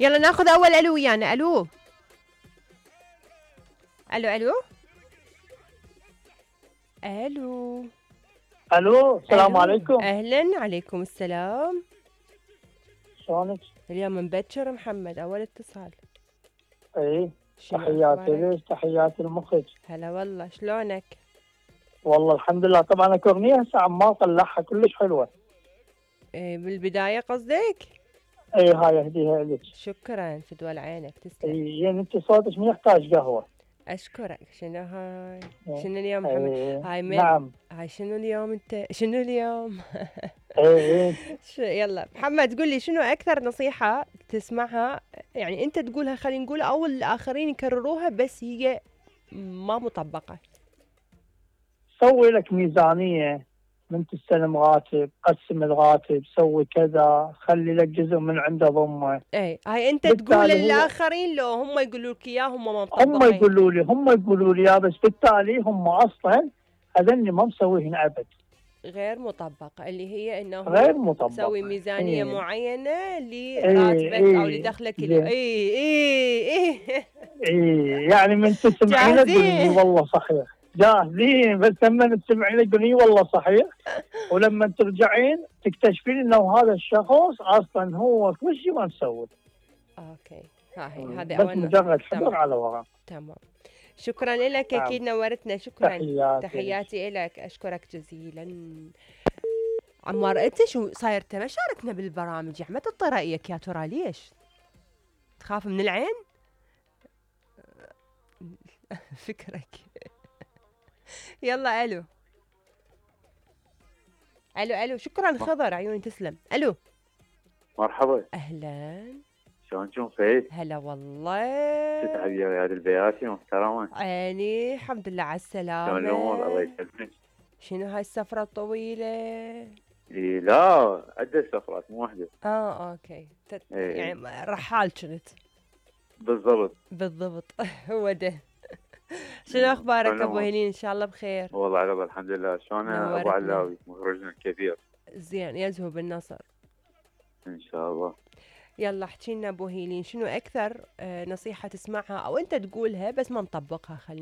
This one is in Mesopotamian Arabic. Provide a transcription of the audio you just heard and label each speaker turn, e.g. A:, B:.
A: يلا ناخذ اول الو ويانا. الو الو الو الو
B: الو، السلام
A: الو،
B: عليكم.
A: اهلا، عليكم السلام.
B: شلونك؟
A: اليوم مبكر محمد، اول اتصال.
B: ايه،
A: شنو
B: تحياتي
A: اخبارك؟
B: لك، تحياتي لمخك.
A: هلا والله، شلونك؟
B: والله الحمد لله. طبعا الاغنيه هسه عمال طلعها كلش حلوه.
A: إيه بالبداية قصدك؟
B: ايه، هاي اهديها لك.
A: شكرا، فدوى عينك، تسلم.
B: ايه، يعني انت صوتك ما يحتاج قهوه.
A: اشكرك. شنو هاي؟
B: ايه.
A: شنو اليوم محمد؟
B: ايه.
A: هاي
B: نعم.
A: هاي شنو اليوم انت؟ شنو اليوم؟
B: ايه. ايه.
A: يلا محمد، قول لي شنو اكثر نصيحة تسمعها، يعني انت تقولها خلينا نقول، او الاخرين يكرروها بس هي ما مطبقة.
B: سوي لك ميزانيه، من تستلم راتب قسم الراتب، سوي كذا، خلي لك جزء من عنده ضمه.
A: اي هاي انت تقول
B: بالتالي هي
A: للاخرين، لو هم يقولوا لك اياه هم ما
B: هم
A: مطبقين.
B: يقولوا لي يا، بس بالتالي هم اصلا هذني ما مسويهن ابد.
A: غير مطبقة، اللي هي انه
B: غير
A: سوي
B: مطبقه.
A: ميزانية
B: ايه.
A: معينة
B: ايه.
A: لراتبك او
B: ايه.
A: لدخلك
B: زين.
A: اي اي اي.
B: ايه، يعني من تسمعينه تقولين اي
A: جاهزين.
B: والله صحيح. جاهزين، بس لما تسمعينه تقولين اي والله صحيح. ولما ترجعين تكتشفين انه هذا الشخص اصلا هو كل شيء ما مسوي.
A: اوكي، هذه
B: بس
A: اول نصيحة.
B: مجرد
A: تمام
B: حضر على ورا.
A: تمام. شكرا لك،
B: نعم.
A: اكيد نورتنا، شكرا.
B: تحياتي لك.
A: تحياتي لك، اشكرك جزيلا. عمار، انت شو صاير؟ ما شاركنا بالبرامج يا احمد، تعطي رايك يا ترى ليش؟ تخاف من العين؟ فكرك. يلا الو الو الو. شكرا خضر، عيوني تسلم. الو،
C: مرحبا.
A: اهلا.
C: شلونكم فايز؟
A: هلا والله.
C: تتعب يا رياض البياتي محترمة.
A: عيني، الحمد لله على
C: شلون الامور؟ الله
A: السلامة.
C: يسلمك.
A: شنو هاي السفرة الطويلة؟
C: إيه لا، عدة سفرات مو واحدة.
A: اوكي.
C: ايه
A: يعني رحال كنت.
C: بالضبط.
A: بالضبط. هو ده. شنو اخبارك
C: شلون
A: ابو
C: الامور؟
A: هلين؟ ان شاء الله بخير.
C: والله على بالله الحمد لله. شلون ابو
A: نورتنا.
C: علاوي مخرجنا الكبير؟
A: زين، يزهو بالنصر.
C: ان شاء الله.
A: يلا احكي لنا ابو هيلين، شنو اكثر نصيحة تسمعها او انت تقولها بس ما نطبقها، خلينا